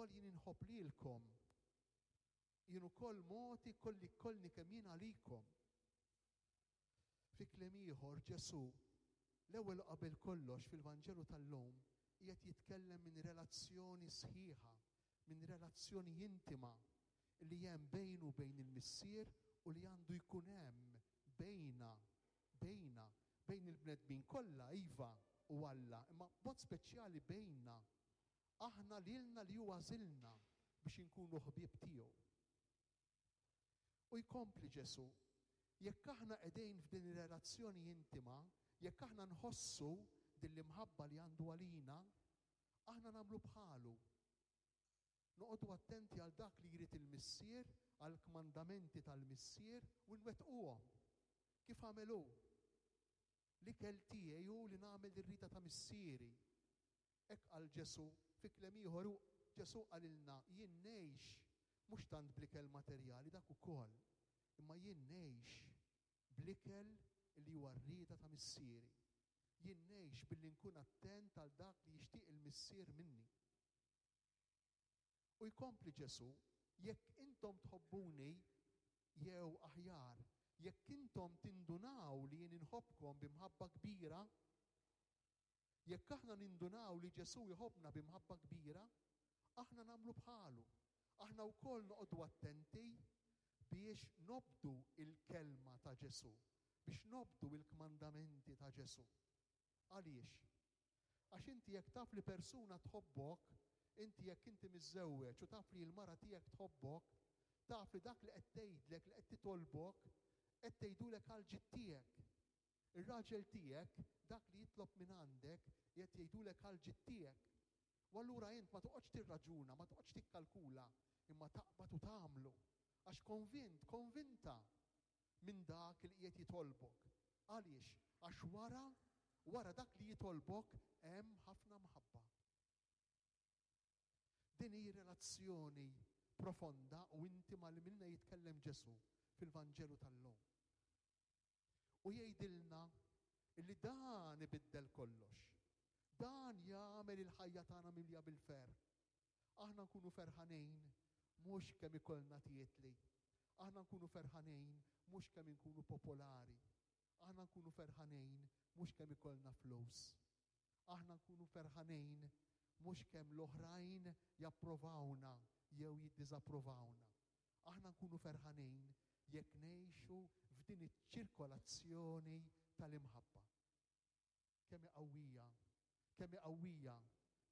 ukoll jien inħobb lilkom. Jien ukoll mogħti kolli kollni kemm jien għalikom. Fi kliem ieħor, Ġesù, l-ewwel u qabel kollox fil-Vanġelu tal-lum, qiegħed jitkellem minn relazzjoni sħiħa, minn relazzjoni intima li hemm bejnu u bejn il-Missier u li għandu jkun hemm bejna, bejna, bejn il-bnedmin kollha, iva, u Alla, imma b'mod speċjali bejna, aħna lilna li hu għażilna biex inkunu ħbieb tiegħu. U jkompli Ġesù, jekk aħna qegħdin f'din ir-relazzjoni intima, jekk aħna nħossu din l-imħabba li għandu għalina, aħna nagħmlu bħalu. Noqogħdu attenti għal dak li jrid il-Missier, għall-kmandamenti tal-Missier u nwettquhom. Kif għamel hu. L-ikel tiegħi hu li nagħmel ir-rieda ta' Missieri. Hekk qal Ġesù. Fi kliem ieħor, hu, Ġesù qalilna, Jien ngħix mhux tant bl-ikel materjali, dak ukoll, imma jien ngħix bl-ikel li huwa r-rieda ta' Missieri. Jien ngħix billi nkun attent għal dak li jixtieq il-Missier minni. U jkompli Ġesù, Jekk intom tħobbuni, jew aħjar, jekk intom tindunaw li jien inħobbkom bi mħabba kbira, Jekk aħna nindunaw li Ġesù jħobbna bi mħabba kbira, aħna nagħmlu bħalu. Aħna wkoll noqogħdu attenti biex nobdu l-kelma ta' Ġesù, biex nobdu l-kmandamenti ta' Ġesù. Għaliex? Għax inti jekk taf li persuna tħobbok, inti jekk inti miżżewweġ u taf li l-mara tiegħek tħobbok, taf li dak li qed tgħidlek, li qed titolbok, qed tgħidulek għall-ġid tiegħek. Ir-raġel tiegħek, dak li jitlob mingħandek, qiegħed jgħidulek għall-ġid tiegħek. U allura int ma toqgħodx tirraġuna, ma toqgħodx tikkalkula, imma taqbad u tagħmlu. Għax konvint, konvinta minn dak li qiegħed jitolbok. Għaliex? Għax wara, wara dak li jitolbok hemm ħafna mħabba. Din hi relazzjoni profonda u intima li minnha jitkellem Ġesù fil-Vanġelu tal-lum. U jgħidilna li dan ibiddel kollox. Dan jagħmel il-ħajja tagħna mimlija bil-ferħ. Aħna nkunu ferħanin mhux kemm ikollna titli. Aħna nkunu ferħanin mhux kemm inkunu popolari. Aħna nkunu ferħanin mhux kemm ikollna flus. Aħna nkunu ferħanin mhux kemm l-oħrajn japprovawna jew jiddiżapprovawna. Aħna nkunu ferħanin jekk ngħixu f'din iċ-ċirkolazzjoni tal-imħabba. Kemm hi qawwija, kemm hi qawwija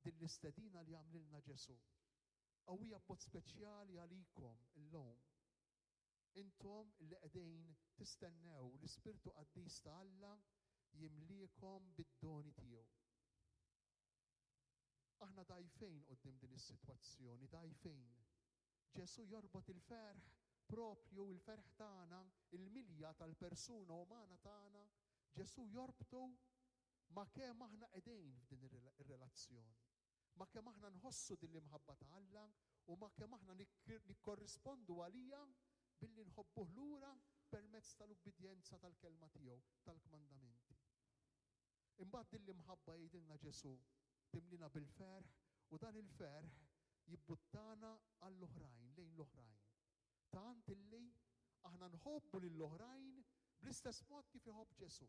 din l-istedina li għamlilna Ġesù. Qawwija b'mod speċjali għalikom illum. Intom li qegħdin tistennew l-Ispirtu Qaddis ta' Alla jimliekom bid-doni tiegħu. Aħna dgħajfin quddiem din is-sitwazzjoni, dgħajfin. Ġesù jorbot il-ferħ proprju, il-ferħ tagħna, il-milja tal-persuna umana tagħna, Ġesù jorbtu ma' kemm aħna qegħdin f'din ir-relazzjoni, ma' kemm aħna nħossu din l-imħabba ta' Alla u ma' kemm aħna nikkorrispondu għaliha billi nħobbuh lura permezz tal-ubbidjenza tal-kelma tiegħu, tal-kmandamenti. Imbagħad din l-imħabba jgħidilna Ġesù, timlina bil-ferħ u dan il-ferħ jibbuttana għall-oħrajn, lejn l-oħrajn. Tant illi aħna nħobbu lill-oħrajn bl-istess mod kif iħobb Ġesù.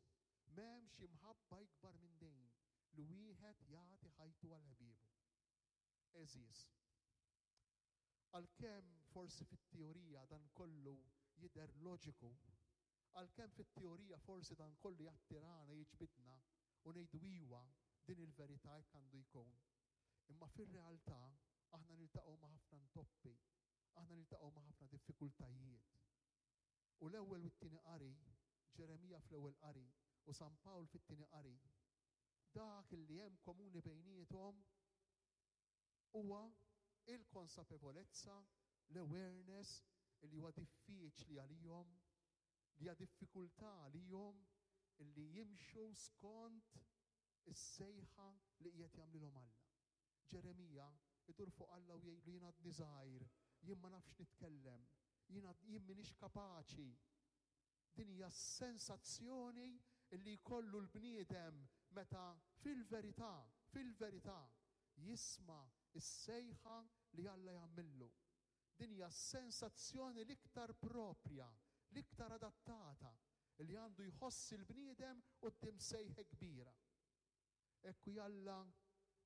M'hemmx imħabba ikbar minn din li wieħed jagħti ħajtu għal ħbiebu. Għeżież, għalkemm forsi fit-teorija dan kollu jidher loġiku, għalkemm fit-teorija forsi dan kollu jattirana, jiġbidna u ngħidu iwa, din il-verità hekk għandu jkun. Imma fir-realtà aħna niltaqgħu ma' ħafna ntoppi, aħna niltaqgħu ma' ħafna diffikultajiet. U l-ewwel u t-tieni qari, Ġeremija fl-ewwel qari u San Pawl fit-tieni qari, dak li hemm komuni bejniethom huwa il-konsapevolezza, l-awareness li huwa diffiċli għalihom, li hija diffikultà għalihom li jimxu skont is-sejħa li qiegħed jagħmlilhom Alla. Ġeremija idur fuq Alla u jgħidlu jien għadni żgħir, jien ma nafx nitkellem, jien jien m'iniex kapaċi. Din hija s-sensazzjoni li jkollu l-bniedem meta fil-verità, fil-verità, jisma' Is-sejħa li Alla jagħmillu. Din hija s-sensazzjoni l-iktar proprja, l-iktar adattata li għandu jħoss il-bniedem quddiem sejħa kbira. Hekk hu jalla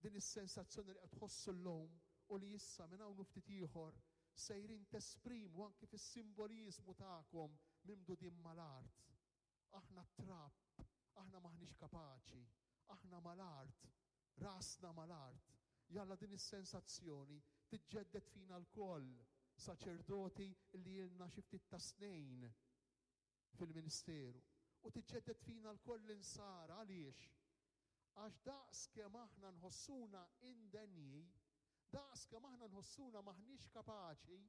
din is-sensazzjoni li qed tħossu llum u li issa minn hawn u ftit ieħor sejrin tesprimu anki fis-simboliżmu tagħkom mimdudin mal-art. Aħna t-trab, aħna m'aħniex kapaċi, aħna mal-art, rasna mal-art. Jalla din is-sensazzjoni tiġġedded fina lkoll, saċerdoti li ilna xi ftit ta' snin fil-ministeru, u tiġġedded fina lkoll l-insara. Għaliex? Għax daqs kemm aħna nħossuna indenji, daqs kemm aħna nħossuna m'aħniex kapaċi,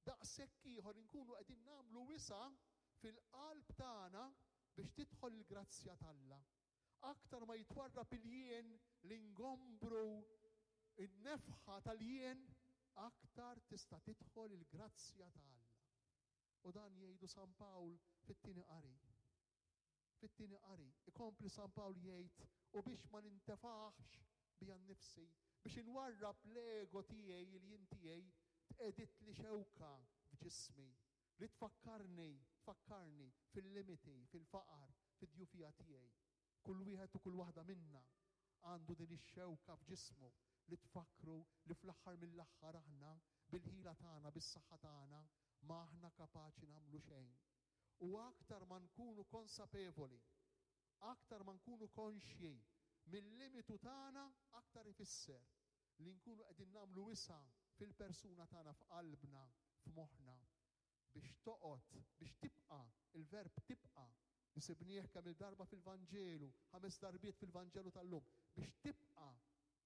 daqshekk ieħor inkunu qegħdin nagħmlu wisa' fil-qalb tagħna biex tidħol il-grazzja t'Alla. Aktar ma jitwarrab il-jien, l-ingombru, in-nefħa tal-jien, aktar tista' tidħol il-grazzja ta' Alla. U dan jgħidu San Pawl fit-tieni qari. Fit-tieni qari, ikompli San Pawl jgħid, u biex ma nintefaħx bija nnifsi, biex inwarrab l-ego tiegħi, il-jien tiegħi, tqegħditli xewka f'ġismi, li tfakkarni, tfakkarni fil-limiti, fil-faqar, fid-djufija tiegħi. Kull wieħed u kull waħda minna għandu din ix-xewka f'ġismu li tfakkru li fl-aħħar mill-aħħar aħna, bil-ħila tagħna, bis-saħħa tagħna, ma aħna kapaċi nagħmlu xejn. U aktar ma nkunu konsapevoli, aktar ma nkunu konxji mil-limitu tagħna, aktar ifisser li nkunu qegħdin nagħmlu wisa' fil-persuna tagħna, f'qalbna, f'moħħna, biex toqgħod, biex tibqa', il-verb tibqa' li sibnieh kemm-il darba fil-Vanġelu, ħames darbiet fil-Vanġelu tal-lum, biex tibqa'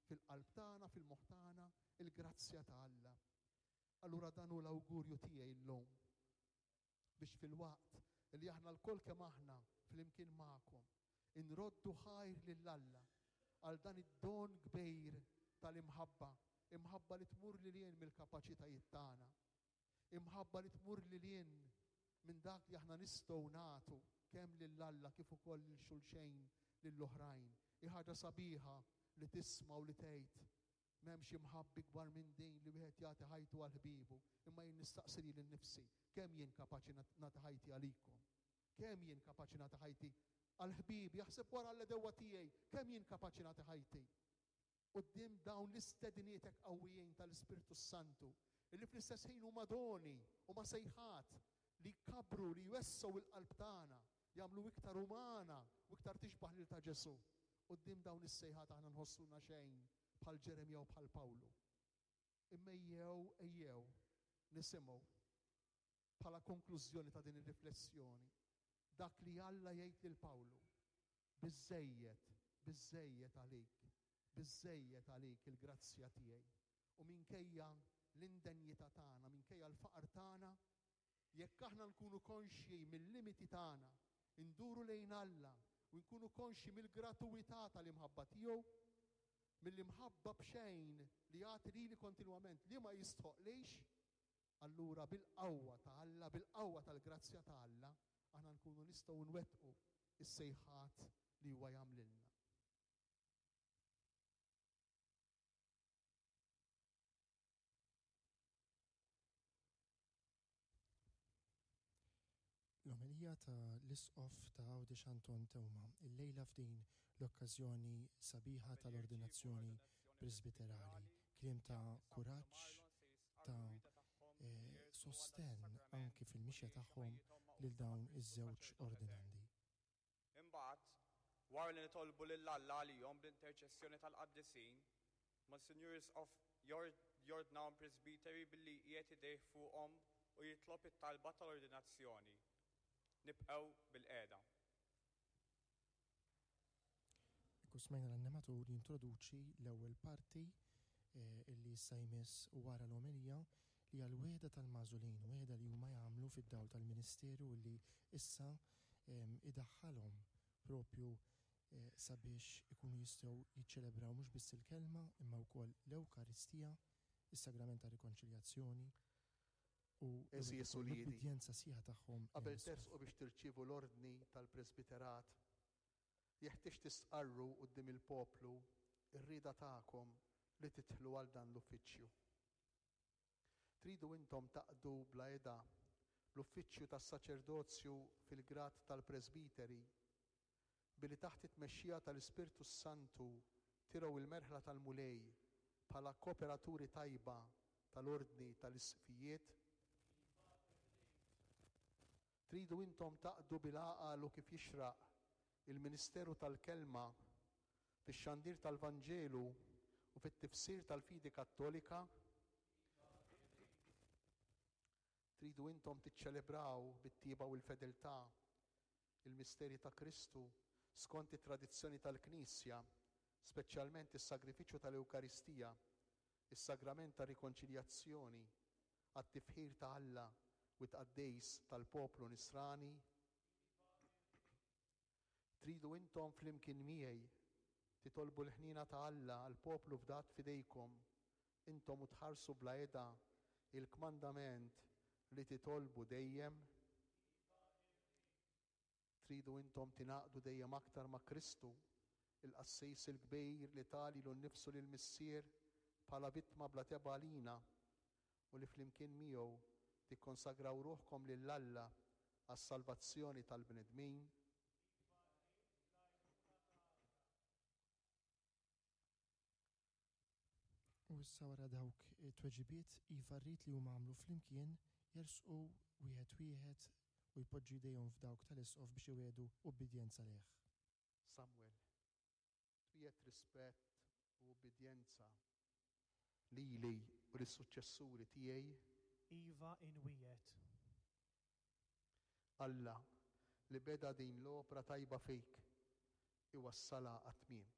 fil-qalb tagħna, fil-moħħ tagħna, il-grazzja ta' Alla. Allura dan hu l-awgurju tiegħi llum, biex filwaqt li aħna lkoll kemm aħna flimkien magħkom inroddu ħajr lil Alla għal dan id-don kbir tal-imħabba, imħabba li tmur lil hinn mill-kapaċitajiet tagħna, imħabba li tmur lil hinn minn dak li aħna nistgħu nagħtu kemm lil Alla kif ukoll lil xulxejn, lill-oħrajn. Hi ħaġa sabiħa li tisma' u li tgħid M'hemmx imħabba ikbar minn din li wieħed jagħti ħajtu għal ħbiebu, imma jien nistaqsi lili nnifsi, kemm jien kapaċi nagħti ħajti għalikom? Kemm jien kapaċi nagħti ħajti għal ħbiebi, aħseb wara għall-għedewwa tiegħi, kemm jien kapaċi nagħti ħajti? Quddiem dawn l-istediniet hekk qawwijin tal-Ispirtu s-Santu, illi fl-istess ħin huma doni, huma sejħat li jkabbru, li jwessgħu l-qalb tagħna, jagħmlu iktar umana u iktar tixbah lil ta' Ġesù. Quddiem dawn is-sejħat aħna nħossuna xejn bħal Ġeremija u bħal Pawlu. Imma ejjew, ejjew nisimgħu bħala konklużjoni ta' din ir-riflessjoni dak li Alla jgħid lil Pawlu, Biżżejjed, biżżejjed għalik, biżżejjed għalik il-grazzja tiegħi. U minkejja l-indenjità tagħna, minkejja l-faqar tagħna, Jekk aħna nkunu konxji mil-limiti tagħna, induru lejn Alla u nkunu konxji mill-gratuwità tal-imħabba tiegħu, mill-imħabba b'xejn li jagħti lili kontinwament li ma jistħoqqlix, allura bil-qawwa ta' Alla, bil-qawwa tal-grazzja ta' Alla, aħna nkunu nistgħu nwettqu s-sejħat li huwa jagħmlilna. L-omelija ta' l-Isqof ta' Għawdex Anton Teuma illejla f'din l-okkażjoni sabiħa tal-ordinazzjoni presbiterali. Kliem ta' kuraġġ, ta' sostenn anki fil-mixja tagħhom lil dawn iż-żewġ ordinandi. Imbagħad, wara li nitolbu lil Alla għalihom bl-interċessjoni tal-qaddisin, Monsinjur Isqof jordnahom presbiteri billi jqiegħed idejh fuqhom u jitlob it-talba tal-ordinazzjoni. Nibqgħu bilqiegħda. Hekk u smajna l-annimatur jintroduċi l-ewwel parti li issa jmiss wara l-omelija li hija l-wegħda tal-magħżulin, wegħda li huma jagħmlu fid-dawl tal-ministeru li issa idaħħalhom propju sabiex ikunu jistgħu jiċċelebraw mhux biss il-Kelma imma wkoll l-Ewkaristija, is-Sagrament tar-Rikonċiljazzjoni u Għeżież uliedi, l-ubbidjenza sħiħa tagħhom qabel lejn tersqu l-Isqof. biex tirċievu l-ordni tal-presbiterat, jeħtieġ tistqarru quddiem il-poplu r-rieda tagħkom. li tidħlu għal dan l-uffiċċju? Tridu intom taqdu bla heda l-uffiċċju tas-saċerdozju fil-grad tal-presbiteri, billi taħt it-tmexxija tal-Ispirtu s-Santu tirgħu l-merħla tal-Mulej bħala kooperaturi tajba tal-Ordni tal-Isqfijiet? Tridu intom taqdu bil-għaqal u kif jixraq il-ministeru tal-Kelma fix-xandir tal-Vanġelu u fit-tifsir tal-fidi Kattolika? Tridu intom tiċċelebraw bit-tjieba u l-fedeltà il-misteri ta' Kristu skont it-tradizzjoni tal-Knisja, speċjalment is-sagrifiċċju tal-Ewkaristija, is-sagrament tar-Rikonċiljazzjoni, għat-tifħir ta' Alla u t-tqaddis tal-poplu Nisrani? Tridu intom flimkien miegħi titolbu l-ħniena ta' Alla għall-poplu fdat f'idejkom, intom u tħarsu bla heda il-kmandament li titolbu dejjem? Tridu intom tingħaqdu dejjem aktar ma' Kristu, il-Qassis il-Kbir li ta lilu nnifsu lill-Missier bħala vittma bla tebgħa għalina, u li flimkien miegħu tikkonsagraw ruħkom lil Alla għas-salvazzjoni tal-bnedmin? U issa wara dawk it-tweġibiet iva rrid li huma għamlu flimkien jersqu wieħed wieħed u jpoġġu jdejhom f'dawk tal-isqof biex iwiegħdu ubbidjenza lejh. Samwel, twiegħed rispett u ubbidjenza lili u lis-suċċessuri tiegħi? Iva inwiegħed. Alla, li beda din l-opra tajba fik, iwassalha għat-tmiem.